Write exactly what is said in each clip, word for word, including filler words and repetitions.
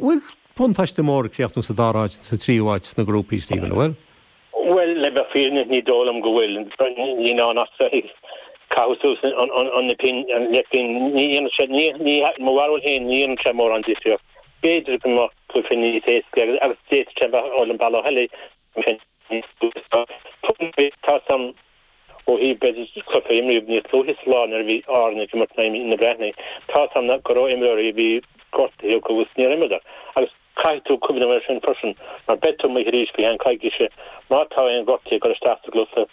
Bhfuil buntáiste mór críochnú sa dara háit sa tríú háit sna grúpaí Stephen bhfuil? Well le bheith fírinneach ní dóigh liom go bhfuil ní ná caitheamh suas an pin an leithpinn ní dhéanann sé ní mo bharúil féin ní dhéanann sé mórán difríocht. B'fhéidir go mbeadh cluiche níos éasca agus agus d'fhéadfadh sé bheith an bealach eile tá sam ó thaobh b'fhéidir cluiche imríodh níos luaithe sa lá nuair a bhí Árainn ag imirt na Breathnaigh. Tá sam go raibh imreoirí a bhí gortaithe agus níor imríodar. Agus caithfidh tú cuimhneamh air sin freisin mar beidh tú amuigh arís faoi cheann coicíse má tá aon ghortaithe ag dul isteach sa gcluiche.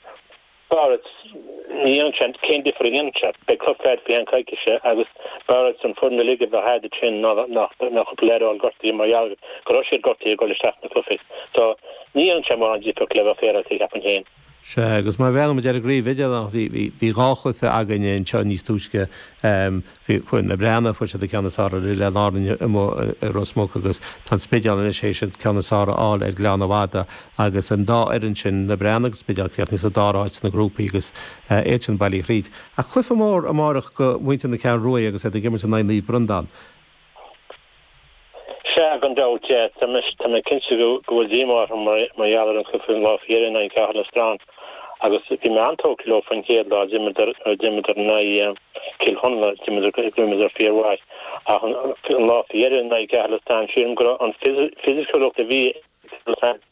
B'fhearr ní dhéanann sé cén difear a dhéanann sé. Beidh cluiche agat faoi cheann coicíse agus b'fhearr an foireann uilig a bheith agat sin ná ná cúpla leaid a fháil gortaithe mar gheall go raibh siad gortaithe ag dul isteach sna cluichí. So ní dhéanann sé mórán difríocht le bheith féaráilte cheapfainn féin. Sea, agus má bhreathnaíonn muid ar an gcraobh idirmheánach, bhí, bhí, bhí dhá chluiche againne anseo níos túisce, bhí foireann na Breathnaigh, fuair siad an ceann is fearr ar Oileáin Árann amuigh i Ros Muc agus tá an Spidéal anois théis an ceann is fearr a fháil ar Ghleann an Fhada agus an dá fhoireann sin, na Breathnaigh agus Spidéal, críochnaithe sa dara háit sna grúpaí agus iad sin bailithe thríd. Ach cluiche mór amárach do mhuintir na Ceathrún Rua agus iad ag imirt in aghaidh Naomh Breandán. Sea, gan dabht, yeah. Tá mé tá mé cinnte go go bhfuil díomá orthu mar mar gheall ar an chluiche an lá faoi dheireadh in aghaidh Caherlistrane agus bhí mé an-tógtha leo faoin chéad lá, d'imríodar d'imríodar in aghaidh Cill Chonla, d'imríodar d'imríodar fíormhaith ach an an lá faoi dheireadh in aghaidh Caherlistrane sílim go raibh an fisiciúlacht a bhí ag tabhairt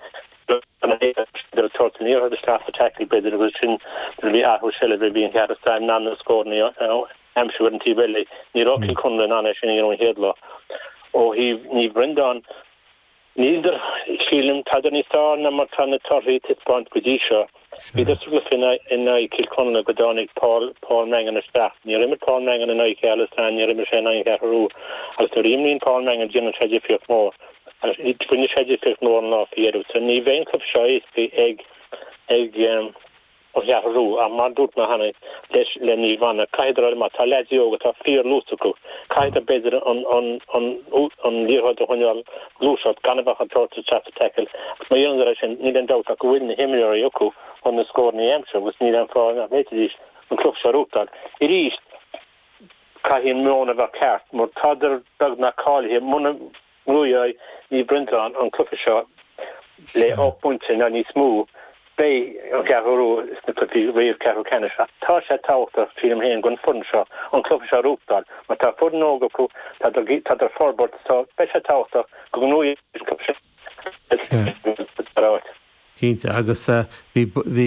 an liathróid isteach sa tackle b'fhéidir agus sin nuair a bhí athrú seilbhe bhí an Caherlistrane in ann na scóranna a aimsiú ar an taobh eile. Ní raibh Cill Chonla in ann é sin a dhéanamh an chéad lá. Ó thaobh Naomh Breandán, níl, sílim, tádar níos fearr ná mar tá na torthaí ag taispeáint go dtí seo. Bhíodar sa gcluiche in aghaidh Cill Chonla go dtáinig Paul Paul Mangan isteach. Níor imir Paul Mangan in aghaidh Caherlistrane, níor imir sé in aghaidh an Cheathrú Rua. Agus nuair a imríonn Paul Mangan déanann sé difríocht mhór. Agus rinne sé difríocht mhór an lá faoi dheireadh. So ní bheidh an cluiche seo éasca ag ag An Cheathrú Rua, ach mar a dúirt mé cheana leis le Naomh Anna, caithfidh siad, má tá leaids óga, tá fíorluas acu, caithfidh b'fhéidir an an an an liathróid a choinneáil gluaiseacht gan a bheith ag tabhairt isteach sa tackle agus má dhéanann siad é sin níl aon dabht ach go bhfuil na himreoirí acu chun na scóranna a aimsiú agus níl aon fáth nach bhféadfaidís an cluiche seo a ghnóthachtáil. Arís, caithfidh an meon a bheith ceart mar tádar beagnach cáilithe muna ngnóthóidh Naomh Breandán an cluiche seo le ocht bpointe nó níos mó. Beidh an Cheathrú Rua sna cluichí réamh ceathrú ceannais ach tá sé tábhachtach, sílim féin, don foireann seo an cluiche seo a ghnóthachtáil mar tá foireann óg acu, tá tá ag forbairt so beidh sé tábhachtach go ngnóthóidh an cluiche seo. Cinnte, agus bhí bhí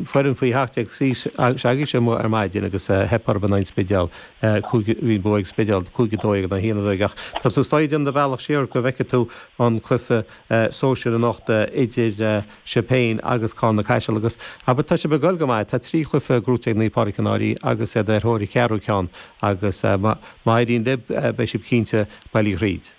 foireann faoi sheacht déag s'agaibhse amuigh ar maidin agus theip orthu in aghaidh an Spidéal, cúig bhí an bua ag Spidéal cúig a dó dhéag in aghaidh a haon a dó dhéag ach tá tú istigh ag déanamh do bhealach siar go bhfeicfidh tú an cluiche sóisir anocht idir sibh féin agus Carna Caiseal agus abair tá sibh ag goil go maith, tá trí chluiche gnóite ag Naomh Pádraig Cionn Áirí agus iad ar thóir an cheathrú ceann agus má éiríonn libh beidh sibh cinnte bailithe thríd.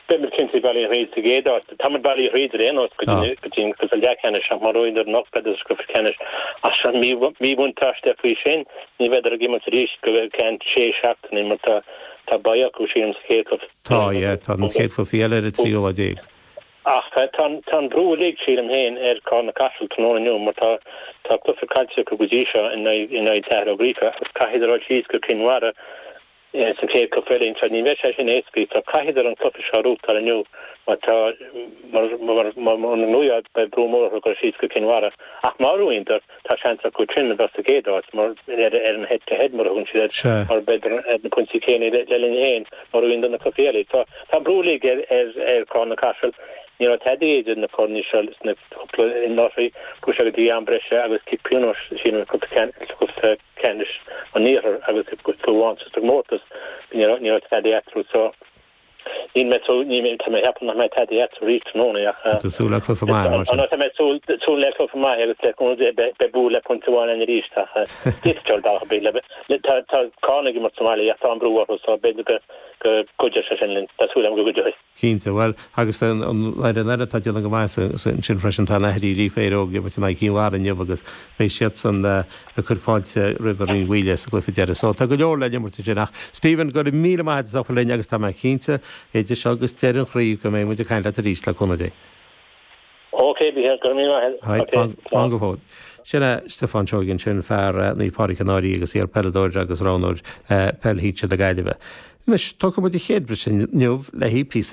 Beidh muid cinnte bailithe thríd sa gcéad áit. Tá muid bailithe thríd ar aon nós go dtí an cluiche leathcheannais ach má bhuann siad anocht beidh sa gcluiche ceannais. Ach an míbhuntáiste faoi sin ní bheidh ag imirt arís go ceann sé seachtainí mar tá tá bye acu sílim sa chéad chluiche. Tá, yeah, tá an chéad chluiche eile ar an tríú lá déag. Ach tá tá an brú uilig sílim féin ar Carna Caiseal tráthnóna inniu mar tá tá cluiche caillte acu go dtí seo in aghaidh in aghaidh Cathair Ó Gríofa agus caithfidh siad dul síos go Cinn Mhara sa chéad chluiche eile anseo. Ní bheidh sé sin éasca so caithfidh siad an cluiche seo a ghnóthachtáil inniu mar tá mar mar mar mura ngnóthaíonn beidh brú mór orthu dul síos go Cinn Mhara. Ach má bhuann siad tá seans acu sin a bheith sa gcéad áit mar ar ar an head to head mar a thugann siad air mar b'fhéidir ar na pointí céanna le le linn féin má bhuann siad na cluichí eile. So tá brú uilig ar ar ar Carna Caiseal. Ní raibh tada idir na foirne seo sna cúpla anuraidh chuaigh sé go dtí am breise agus cic pionóis sílim cúpla cúpla ceannais an iarthair agus fiú amháin sa gcomórtas ní raibh ní raibh tada eatarthu so níl mé súil ní tá mé ag ceapadh nach mbeidh tada eatarthu arís tráthnóna ach Tá tú súil le cluiche maith mar sin. Tá mé súil súil le cluiche maith agus le beidh bua le pointe amháin ann arís ach d'fhéadfadh dul bealach ar bith le tá tá Carna ag imirt sa mbaile ach tá an brú orthu so b'fhéidir go go gcuideoidh sé sin linn tá súil agam go gcuideoidh. Cinnte, bhuel, agus an fhoireann eile atá ag déanamh go maith ansin freisin, tá an Fhaiche Rí Óg ag imirt in aghaidh Chinn Mhara inniu agus beidh siadsan ag cur fáilte roimh an Rinn Mhaoile sa gcluiche deiridh. So tá go leor le imirt ansin ach Stephen, go raibh míle maith agat as ucht a bheith linn agus tá mé cinnte idir seo agus deireadh an chraobh go mbeidh muid ag caint leat arís le cúnamh Dé. Ok, Mícheál, go raibh míle maith agat. Right, slán go fóill. Sin é Stiofán Seoighe ansin, fear Naomh Pádraig Cionn Áirí agus iar-peileadóir agus roghnóir peil shinsir na Gaillimhe. Anois, tógfaidh muid an chéad briseadh inniu le haghaidh píosa